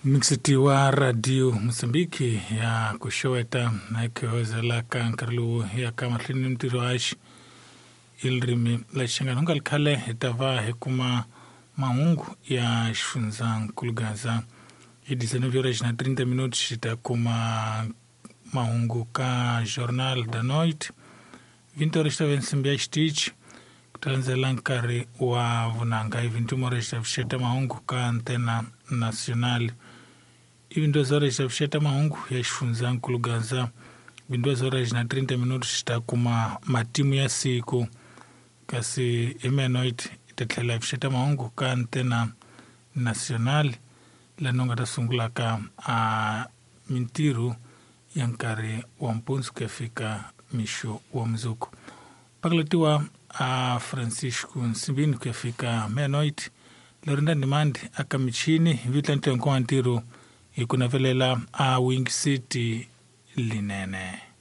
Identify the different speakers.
Speaker 1: Mixitiwa Radio Mozambique ya ku xeweta na ku hozela ka nkarhi lowu ya ka mahlweni ni mintirho haxi i ririmi la Xinghana. Ku nga ri khale hi ta va hi kuma mahungu ya xifundzankulu Gaza hi 19 horas na 30 minutos hi ta kuma mahungu ka Jornal da Noite. 20 horas ta ve nsimbi ya xitichi ku ta landzela nkarhi wa vunanga. Hi 21 horas ta pfuxeta mahungu ka Antena Nacional. I 22 horas ta pfuxeta mahungu ya xifundzankulu Gaza. 22 horas na 30 minutos ta kuma matimu ya siku, kasi hi meia-noite hi ta tlhela hi pfuxeta mahungu ka Antena Nacional laha u nga ta sungulaka a mintirho ya nkarhi wa mpundzu ku ya fika mixo wa mundzuku. Pakalatiwa a Francisco Nsimbini ku ya fika meia-noite. Lorinda Ndimande aka michini hi vito la ntirho wa ntirho hi ku navelela a Wing City linene.